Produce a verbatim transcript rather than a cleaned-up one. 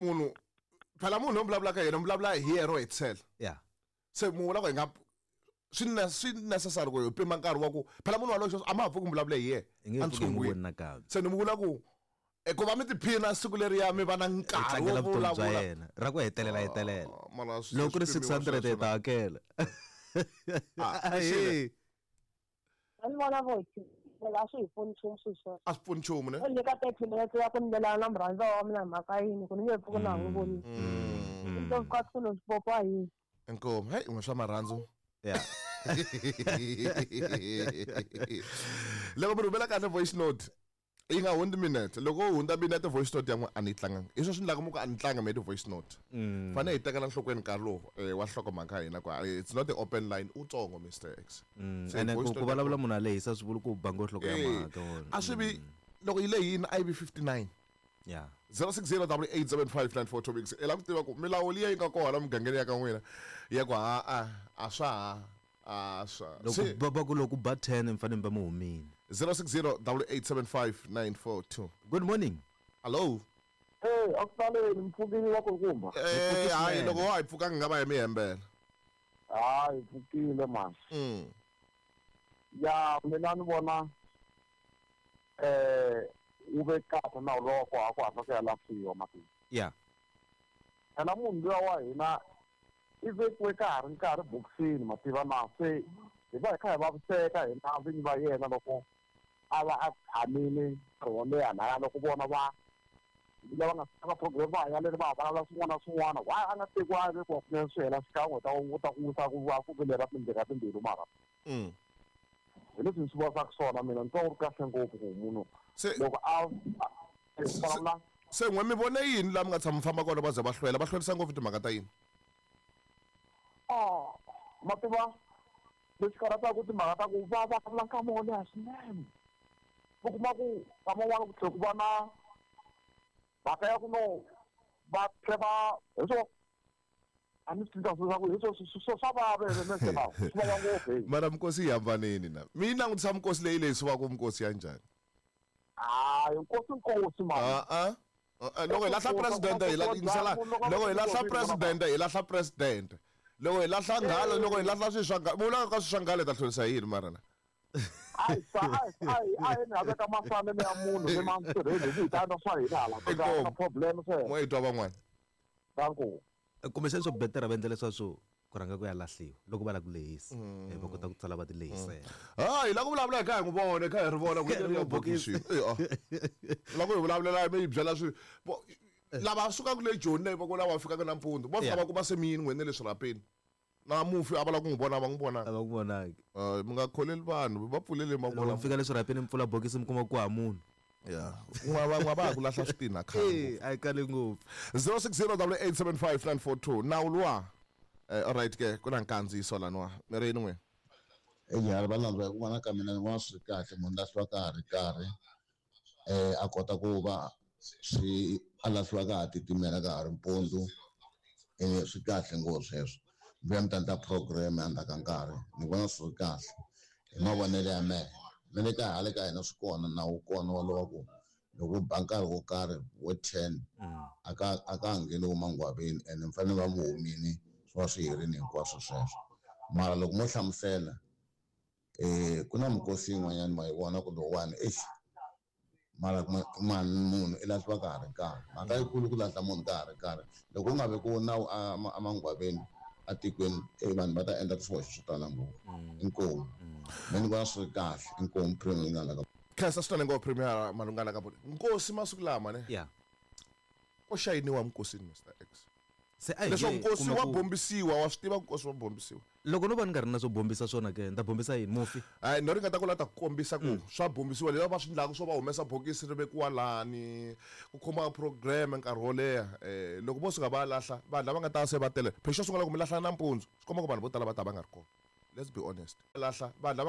Munhu phela munhu loyi vulavulaka yena mi vulavula hi yena ro hetisela. Ya. Se mu vula ku hi nga swi ne swi necessary ku hi pima nkarhi wa ku phela munhu walowo a ma ha pfuki mi vulavule hi yena i nge pfuki n'wi voni nakambe. Se ni mu vula ku e ku va mi tiphina siku leriya mi va na nkarhi tlangela wo vutomi bya vulavula yena ra ku hetelela hetelela. Ah, mara swi- Loko ku ri swi six pimiwa hundred hi sweswo ta na. hakela. Ah, Ahee. A ni vona vo hi a swi hi pfuni nchumu swilo sweswo. A swi pfuni nchumu ne? U nyika thirty minutes ya ku ni lelana na murhandziwa wa mina hi mhaka yini ku ni nge pfuki na ha n'wi vonile. Mm. Ndzi fika swilo swi popiwa hi yini. Inkomu. Hey, n'we swa marhandzu. Yeah. Loko mi rhumela kahle voice note yi nga hundzi minute. Loko u hundza minute voice note ya n'we a ni yi tlanganga. Hi swona swi endlaka mi ku a ni tlanga me ti-voice note. Fanele hi tekela nhlokweni nkarhi lowu eh, wa nhlokomhaka ya hina ku ah, it's not the open line utsongo Mister X. Se Ene voice ku ku note ya vulavula munhu a lehisa swi vuli ku ba ngo nhloko ya Eh, mhaka wona. a swi vi loko yi lehini a yi vi fifty-nine. Yeah. zero six zero double eight seven five nine four two six. I lava ku tiva ku milawu liya yi nga kona mugangeni ya ka n'wina ya ku ha a a swa ha a swa Loko Se, ba ba ku loko ba ten mi fanele mi va mi humile. zero six zero double eight seven five nine four two. Good morning. Hello. Eh, a ku saleni mpfukile wa kulukumba. Eh, hayi swinene. loko wa hi pfukanga nga va hi mi hembela. Hayi, pfukile mani. Mm. Ya mina ni vona eh wu ve kahle nawu lowa ku ha ku hatla ku ya lahliwa mati. Yeah. Phela munhu luya wa hina i vekiwe ka ha ri nkarhi bokisini mativa na se hi va hi kha hi vaviseka hina vinyi va yena loko a va a tshamile nkarhi wo leha laya loko vona va lava nga saka program va ya leri va vulavula swin'wana na swin'wana why a nga tekiwa a vekiwa kunene swi hela xikan'we ta wu ta ku wisa ku va ku vilela tindlela timbilu mara. Mm. Hi leswi ni swi vonisaka swona mina ni twa wu ri kahle ngopfu ku munhu Se loko a a vulavula se n'we mi vone yini laha mi nga tshama mi famba kona va ze va hlwela va hlwerisa ngopfu timhaka ta yini? Ah, mativa leswi karhataka timhaka ta ku va vulavula nkama wo leha swinene. U kuma ku nkama wun'wana ku tlhela ku va na mhaka ya ku no va tlhe va hi swo a ni swi twisisa ku hi swo swo swa vava ene lawa swi vava ngopfu hey. Mara mikosi yi hambanini na. Mi yi langutisa mikosi leyi lehisiwaka mikosi ya njhani? Hayi nkosi nkosi mani. Ah ah. Ah, loko hi lahla president hi la yingisela loko hi lahla president hi lahla president. Loko hi lahla nghala loko hi lahla swilo swa nghala vula ka swilo swa nghala hi ta hlwerisa yini mara na? Ayi sa ayi ayi ayi ni haveka masana ya munhu ni ma tirheli hi ta endla swa hina hala ku nga na problem sweswo. N'we hi twa van'wana. Danko. Kumbexana swo betera va endla leswaku ku rhanga ku ya lahliwa loko va lava ku lehisa. Eh, va kota ku tsala va ti lehisela. Ah, hi lava ku vulavula hi kha hi n'wi vona, hi kha hi ri vona ku Hi ri ya bokisi. Eh, ah. Loko hi vulavulela mi hi byela swi vo- lava sukaka le Joni leyi va ku lava fikaka nampundzu va fika Yeah. va kuma se mi yini n'wina le swirhapeni. Na mufi a va lava ku n'wi vona va n'wi vonanga. A va ku vonangi. Eh, mi nga kholeli vanhu va pfulele Loko mavona. mi fika le swirhapeni mi pfula bokisi mi kuma ku ha munhu. Yeah. N'wa va n'wa va ha ku lahla switina khale. Eh, a yi kali ngopfu. zero six zero double eight seven five nine four two. Nawu luwa. Eh, all right ke ku na nkandziyiso laniwa. Mi ri yini n'we? Eya va landza hi ku vona ka mina ni vona swi ri kahle munhu lahliwa ka ha ri karhi eh a kota ku va swi a lahliwa ka ha titimela ka ha ri mpundzu eh swi kahle ngopfu sweswo mi vuya mi ta endla program endzhaku ka nkarhi ni vona swi ri kahle hi mavonelo ya mehe na le ka hala ka hina swi kona nawu wu kona walowa ku loko u ba nkarhi wo karhi wo ten a ka a ka ha ngheniwi mangwaveni ene mi fanele va mi humini swi va swi herini hinkwaswo sweswo mara loko mo hlamusela eh ku na mikosi yin'wanyana ma yi vona ku lowuwani exi mara ma munhu i lahliwa ka ha ri nkarhi mhaka yikulu ku lahla munhu ka ha ri nkarhi loko u nga vekiwi nawu emangwaveni atikweni e vanhu va ta endla swihoxo swo tala ngopfu inkomu me ni vona swi ri kahle inkomu premier yi nga la ka Khensa swinene ngopfu premier malungana ka nkosi masiku lama ne Yeah. ko xayiniwa mukosini Mister X. Se a hi Leswaku nge nkosi kuma wa ku- bombisiwa wa swi tiva ku nkosi wa bombisiwa. Loko no va ni nga ri na swo bombisa swona ke ni ta bombisa yini mufi? Hayi no ringeta ku la ta ku kombisa ku swa bombisiwa leswi va swi endlaka swo va humesa bokisi ri vekiwa lani ku khoma program nkarhi wo leha eh loko vo suka va lahla vanhu lava nga ta se va tele phela xo sungula ku mi lahla nampundzu swi komba ku vanhu vo tala va ta va nga ri kona. Let's be honest. Lahla vanhu lava